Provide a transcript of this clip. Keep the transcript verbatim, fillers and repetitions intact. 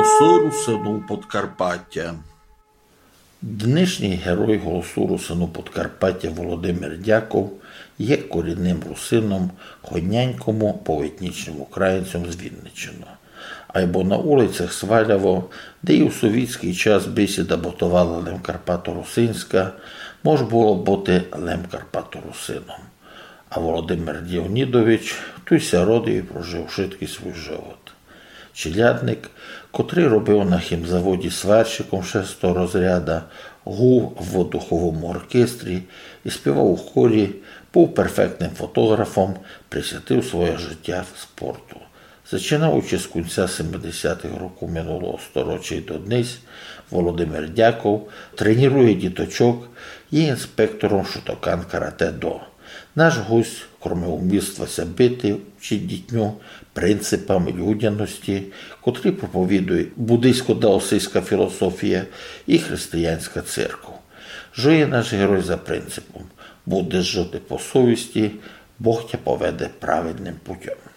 Голосу русинув Подкарпатя. Днешній герой Голосу русинув Подкарпатя Володимир Дяков є корінним русином, годнянькому повоетнічным українцьом з Вінниччины. Айбо на улицях Свалявы, де і в совітськый час бесіда ботовала лем карпаторусинська, мож было быти лем карпаторусином. А Володимир Леонідович туй ся родив і прожив вшыткый свуй живот. Челядник, котрый робив на хімзаводі сварщиком шестого розряда, гув в духовому оркестрі і співав у хорі, быв перфектным фотографом, присвятив своє життя спорту. Зачинаючи з кінця семидесятых років минулого стороча і до днесь, Володимир Дяков тренірує діточок, є інспектором Шотокан Каратэ-До. Наш гость, кроме уміства ся бити, учить дітню принципам людяности, котрі проповідує буддийсько-даосистська філософія і християнська церква. Жиє наш герой за принципом: будеш жити по совісти, Бог тя поведе праведным путём.